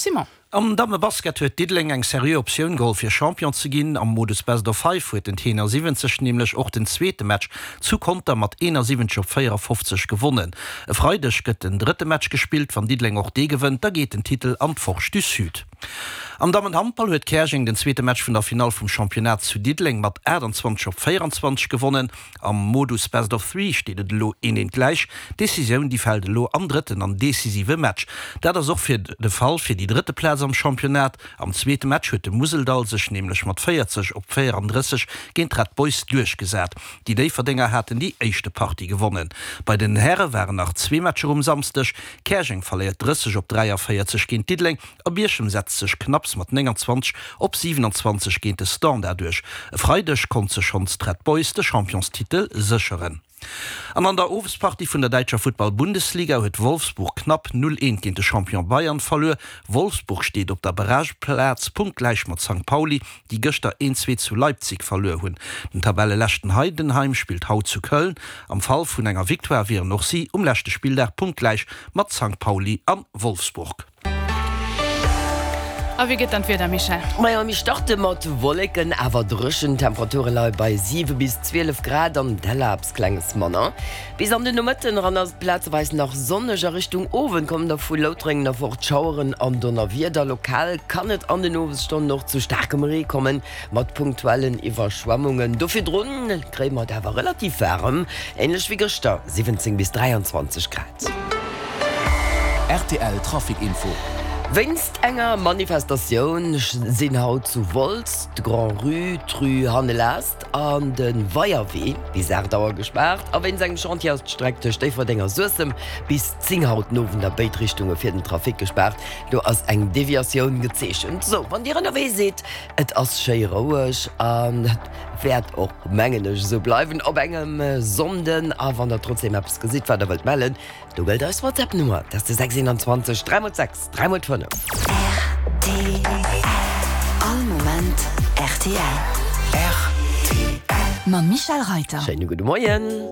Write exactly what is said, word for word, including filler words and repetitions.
Simon. Am Dammebasket huet Diddeleng eng seriö Optioun geholl fir Champion ze ginn. Am Modus Best of Five huet den Tenor siwwenzeg nämlech och den zweete Match zu Conter mat eenasiwwenzeg op véierafofzeg gewonnen. E Freideg gëtt den drëtte Match gespillt. Wann Diddeleng och dee gewënnt, da geet den Titel an d'Forge du Sud. Am Dammenhandball huet Käerjeng den zweete Match vun der Finall vum Championnat zu Diddeleng mat aachtanzwanzeg op véieranzwanzeg gewonnen. Am Modus Best of Three steet et elo een eent gläich. D'Decisioun déi fält elo am drëtten an decisive Match. Dat ass och fir de Fall fir déi drëtte Plaz am Championnat. Am zweete Match huet de Museldall sech nämlech mat véierzeg op véierandrësseg géint d'Red Boys duerchgesat. Déi Déifferdenger haten déi éischte Partie gewonnen. Bei den Häre waren nach zwee Matcher um Samsdeg. Käerjeng verléiert drësseg op dräiavéierzeg géint Diddeleng a Bierchem setzt sech knapps mat nénganzwanzeg op siwenanzwanzeg géint de Standard duerch. E Freideg konnt sech schonns d'Red Boys de Championstitel sécheren. An an der Owespartie vun der däitscher Futtball-Bundesliga huet Wolfsburg knapp null eent géint de Champion Bayern verluer. Wolfsburg steet op der Barrageplaz, punktgläich mat Sankt Pauli, déi gëschter een zwee zu Leipzig verluer hunn. Den Tabelleleschten Heidenheim spillt haut zu Köln. Am Fall vun enger Victoire wieren och si um leschte Spilldag punktgläich mat Sankt Pauli a Wolfsburg. A wéi gëtt dann d'Wieder, Michèle? Majo, mir starte mat Wolleken, awer dréchen. D'Temperature leie bei siwe bis zwielef Grad, an Della eppes klenges manner. Bis an den Nomëtten eran ass et plazeweis nach sonneg, a Richtung Owend kommen da vu Loutrengen erfort Schaueren an Donnerwieder. Lokal kann et an den Owesstonnen och zu staarkem Ree kommen, mat punktuellen Iwwerschwemmungen. Do virdrun kréie mer et awer relativ waarem, änlech wéi gëschter, siwwenzéng bis dräianzwanzeg Grad. Rtl Trafic Info. Wéinst enger Manifestatioun sinn haut zu Wolz d'Grand-Rue, d'Rue Hannelast an de Weierwee bis aacht Auer gespaart. A wéinst engem Chantier ass d'Streck tëscht Déifferdeng a Suessem bis zéng haut den Owend a béid Richtunge fir den Trafic gespaart. Do ass eng Deviatioun gezeechent. Sou, wann Dir ënnerwee sidd, et ass schéi roueg an et wäert och, mengen ech, esou bleiwen op engem Sonnden. A wann Der trotzdeem eppes gesitt, wat Der wëllt mellen, Do gëllt eis WhatsApp Nummer, dat ass de sechs eenanzwanzeg dräi mol sechs dräi mol fënnef. Rtl, All Moment rtl. Rtl. Mam Michèle Reiter. Schéine gudde Moien.